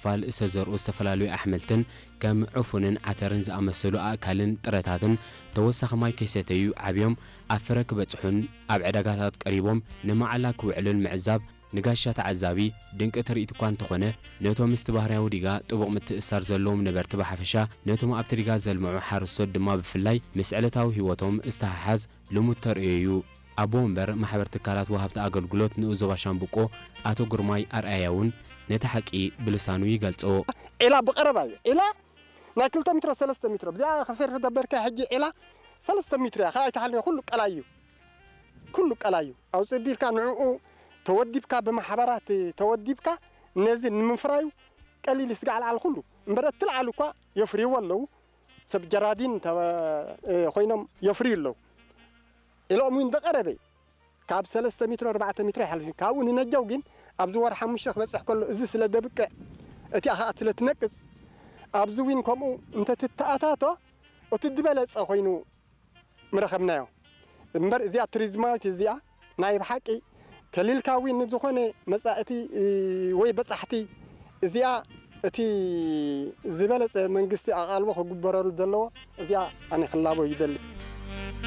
ፋል ዝተዘርኡ ዝተፈላለዩ ኣሕምልትን ከም ዕፉንን ዓተርን ዝኣመሰሉ ኣእካልን ጥረታትን ተወሳኺ ማይ ከይሰተዩ ዓብዮም ኣብ ፍረ ክበጽሑን ኣብ ዕዳጋታት ቀሪቦም ንመዓላ ክውዕሉን ምዕዛብ ንጋሻ ተዓዛቢ ድንቂ ትርኢት እኳ እንተኾነ፣ ነቶም ምስቲ ባህርያዊ ዲጋ ጥቡቕ ምትእስሳር ዘለዎም ነበርቲ ብሓፈሻ፣ ነቶም ኣብቲ ዲጋ ዘልምዑ ሓረስቶት ድማ ብፍላይ ምስ ዕለታዊ ህይወቶም ዝተሓሓዝ ልሙድ ተርእዮ እዩ። ኣቦ ወንበር ማሕበር ትካላት ወሃብቲ ኣገልግሎት ንኡስ ዞባ ሻምብቆ ኣቶ ግርማይ ኣርኣያ እውን ነቲ ሓቂ ብልሳኑ ይገልጾ። ዒላ ብቐረባ እዩ። ዒላ ናይ ክልተ ሜትሮ፣ ሰለስተ ሜትሮ። ብዚኣ ከፌር ተደበርካ ሕጂ ዒላ ሰለስተ ሜትሮ እያ። ከኣ ኣይተሓልነ፣ ኩሉ ቀላይ እዩ። ኩሉ ቀላይ እዩ። ኣውጽእ ቢልካ ንዕኡ ተወዲብካ፣ ብማሕበራት ተወዲብካ ነዚ ንምፍራዩ ቀሊል እዩ። ስጋዕ ለዓል ኩሉ እምበር እቲ ለዓል እኳ የፍርይዎ ኣለዉ። ሰብ ጀራዲን ተወ-፣ እ፣ ኮይኖም የፍርዩ ኣለዉ። ኢሎም እውን ዝቐረበ ካብ ሰለስተ ሜትሮ፣ ኣርባዕተ ሜትሮ ይሓልፍ እዩ። ካብኡ ንነጃው ግን ኣብዚ ወር ሓሙሽተ ክበጽሕ ከሎ እዚ ስለ ደብቅዕ እቲኣ ከኣ ስለ ትነቅጽ ኣብዚ እውን ከምኡ እንተትተኣታቶ እቲ ዝበለጸ ኮይኑ ምረኸብናዮ። እምበር እዚኣ ቱሪዝማዊት እዚኣ ናይ ብሓቂ ከሊልካ እውን ንዝኾነ መጻእቲ፣ እ፣ ወይ በጻሕቲ እዚኣ እቲ ዝበለጸ መንግስቲ ኣቓልቦ ክግበረሉ ዘለዎ እዚኣ ኣነ ክላቦ ይደሊ።